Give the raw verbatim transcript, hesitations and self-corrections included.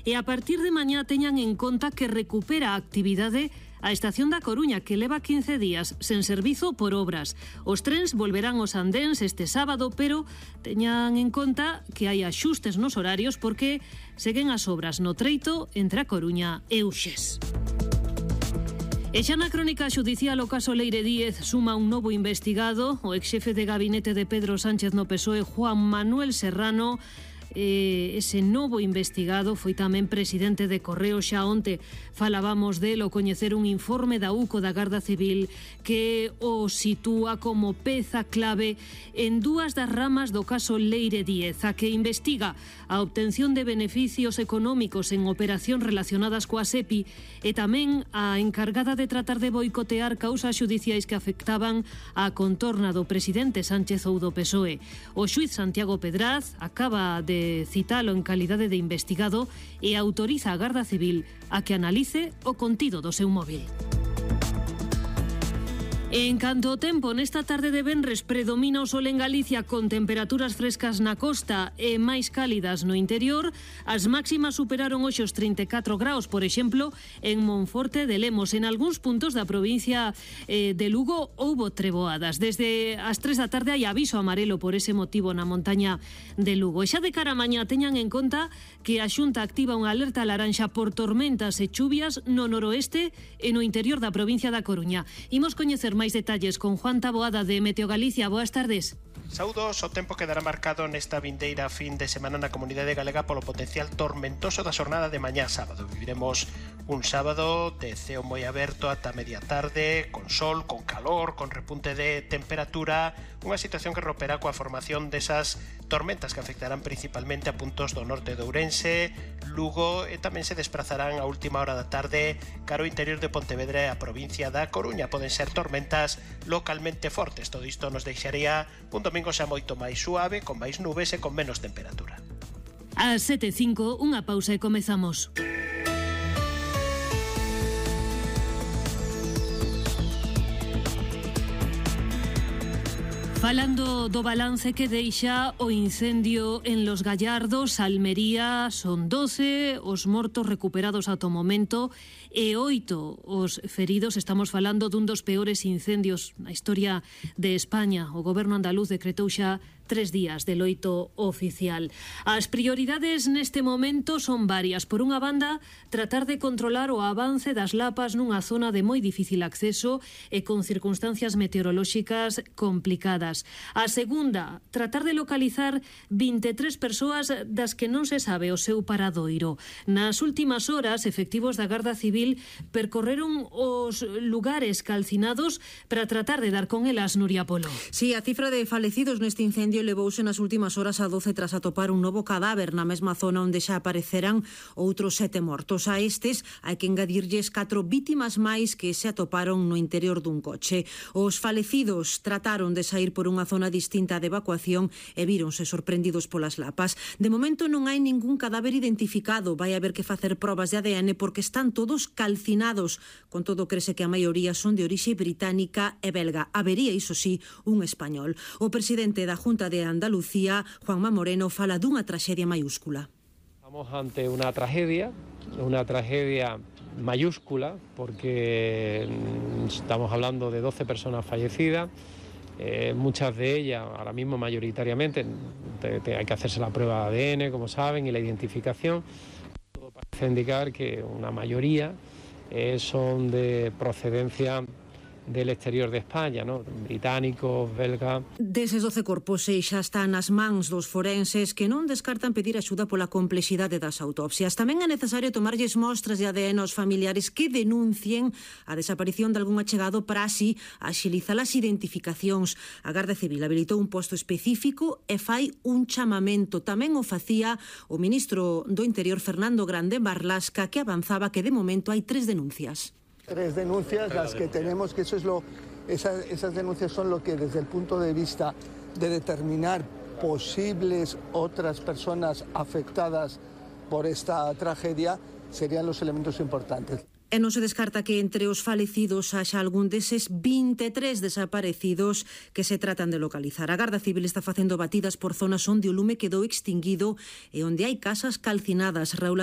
e a partir de mañá teñan en conta que recupera a actividade a estación da Coruña, que leva quince días sen servizo por obras. Os trens volverán aos andéns este sábado, pero teñan en conta que hai axustes nos horarios porque seguen as obras no treito entre a Coruña e Uxés. E xa na crónica xudicial o caso Leire Díez suma un novo investigado. O exxefe de gabinete de Pedro Sánchez no P S O E, Juan Manuel Serrano, Eh, ese novo investigado foi tamén presidente de Correo. Xa onte falábamos del o coñecer un informe da U C O da Garda Civil que o sitúa como peza clave en dúas das ramas do caso Leire Díez, a que investiga a obtención de beneficios económicos en operacións relacionadas coa SEPI e tamén a encargada de tratar de boicotear causas xudiciais que afectaban a contorna do presidente Sánchez ou do P S O E. O xuíz Santiago Pedraz acaba de citalo en calidade de investigado e autoriza a Garda Civil a que analice o contido do seu móvil. En canto ao tempo, nesta tarde de venres predomina o sol en Galicia con temperaturas frescas na costa e máis cálidas no interior. As máximas superaron hoxe os trinta e catro graus, por exemplo, en Monforte de Lemos. En algúns puntos da provincia eh, de Lugo houbo treboadas. Desde as tres da tarde hai aviso amarelo por ese motivo na montaña de Lugo. E xa de cara a mañá teñan en conta que a Xunta activa unha alerta laranxa por tormentas e chuvias no noroeste e no interior da provincia da Coruña. Imos coñecer máis detalles con Juan Taboada de Meteo Galicia. Boas tardes. Saúdos, o tempo quedará marcado nesta vindeira fin de semana na comunidade galega polo potencial tormentoso da xornada de mañá sábado. Viviremos un sábado de ceo moi aberto ata media tarde, con sol, con calor, con repunte de temperatura, unha situación que romperá coa formación desas tormentas que afectarán principalmente a puntos do norte de Ourense, Lugo e tamén se desplazarán a última hora da tarde cara ao interior de Pontevedra e a provincia da Coruña. Poden ser tormentas localmente fortes. Todo isto nos deixaría un domingo xa moito máis suave, con máis nubes e con menos temperatura. A sete e cinco, unha pausa e comezamos. Falando do balance que deixa o incendio en Los Gallardos, Almería, son doce os mortos recuperados ata o momento e oito os feridos. Estamos falando dun dos peores incendios na historia de España. O goberno andaluz decretou xa tres días de loito oficial. As prioridades neste momento son varias. Por unha banda, tratar de controlar o avance das lapas nunha zona de moi difícil acceso e con circunstancias meteorolóxicas complicadas. A segunda, tratar de localizar vinte e tres persoas das que non se sabe o seu paradoiro. Nas últimas horas, efectivos da Garda Civil percorreron os lugares calcinados para tratar de dar con elas, Nuria Polo. Sí, a cifra de falecidos neste incendio levouse nas últimas horas a doce tras atopar un novo cadáver na mesma zona onde xa apareceran outros sete mortos. A estes hai que engadirlles catro vítimas máis que se atoparon no interior dun coche. Os falecidos trataron de sair por unha zona distinta de evacuación e víronse sorprendidos polas lapas. De momento non hai ningún cadáver identificado. Vai haber que facer probas de A D N porque están todos calcinados. Con todo, crese que a maioría son de orixe británica e belga. Habería, iso sí, un español. O presidente da Junta de Andalucía, Juanma Moreno, fala dunha traxedia mayúscula. Estamos ante unha tragedia, unha tragedia mayúscula, porque estamos hablando de doce personas fallecidas, eh, muchas de ellas, ahora mismo mayoritariamente, te, te, hay que hacerse la prueba de A D N, como saben, y la identificación. Todo parece indicar que una mayoría eh, son de procedencia del exterior de España, ¿no? Británicos, belgas. Deses doce corpos xa están nas mans dos forenses que non descartan pedir axuda pola complexidade das autopsias. Tamén é necesario tomarlles mostras de A D N aos familiares que denuncien a desaparición de algún achegado para así axilizar as identificacións. A Garda Civil habilitou un posto específico e fai un chamamento. Tamén o facía o ministro do Interior, Fernando Grande Marlasca, que avanzaba que de momento hai tres denuncias. Tres denuncias, las que tenemos, que eso es lo, esas, esas denuncias son lo que desde el punto de vista de determinar posibles otras personas afectadas por esta tragedia serían los elementos importantes. E non se descarta que entre os falecidos haxa algún deses vinte e tres desaparecidos que se tratan de localizar. A Garda Civil está facendo batidas por zonas onde o lume quedou extinguido e onde hai casas calcinadas. Raúl